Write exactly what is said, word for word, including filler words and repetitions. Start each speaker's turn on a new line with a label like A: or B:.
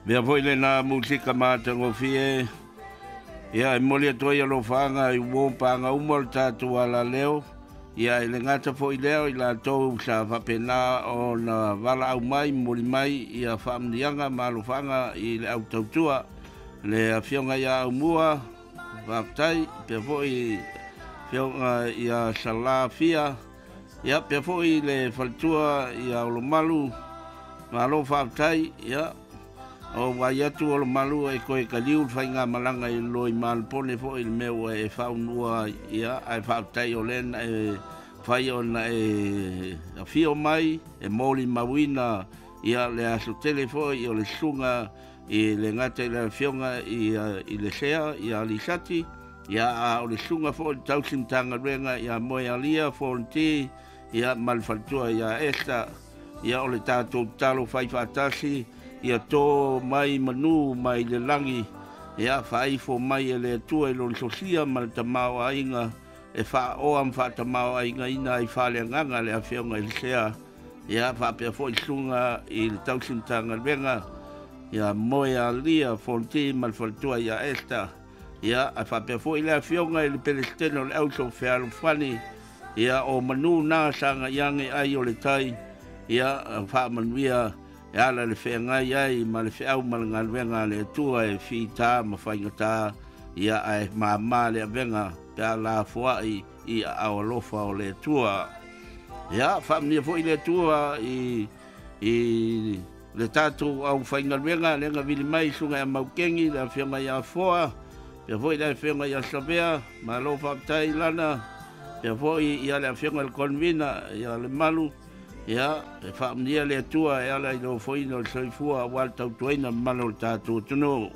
A: Mea foi lena musika matagofie. Ia, e momoli atu ai alofaaga i uo paga uma o le tatou alaleo. Ia, e le gata foi lea o i latou sa faapena ona valaau mai, momoli mai ia faamanuiaga ma alofaaga i le au tautua. Le afioga ia Aumua, faafetai, pea foi afioga ia Salafia, ia pea foi le faletua ia Olomalu, malo faafetai. Ia, o vaai atu Olomalu e koe kaliu le faigamalaga i loi malopone foi le mea ua e faaunua, ia ae faafetai o lea na e fai ona e afio mai e molimauina ia le aso tele foi o le susuga i le gata i le afioga i, i le Sea ia Lisati, ia a o le susuga foi le tausi Matagaluega ia Moealia Fonti, ia ma le faletua ia Esta. Ia o le tatou tatalo fai faatasi, ia tō mai manu mai le lagi, ia faaifo mai e le Atua i lona sosia ma le tamaoaiga e faaoa ma faatamaoaigaina ai faaleagaga le afioga i le Sea, ia faapea foi susuga i le tausi Matagaluega ia Moealia Fonti ma le faletua ia Esta. Ia ae faapea foi le afioga i le Peresetene o le Auso Fealofani, ia o manu na saga iage ai o le tai, ia faamanuia e ala le feagai ai ma le feau ma le galuega a le Atua e fita ma faigata, ia ae māmā le avega pe a lafoai i aao alofa o le Atua. Ia faamanuia foi le Atua i, i le tatou aufaigaluega lea na vili mai susuga ia Maukeni, le afioga ia Foa, pea foi le afioga ia Savea, malo faafetai Lana, pea foi ia le afioga i le Convena ia le Malu. Ia, e faamanuia le Atua e ala i le ofoina o le soifua aua le tautuaina mamalu o le tatou atunuu.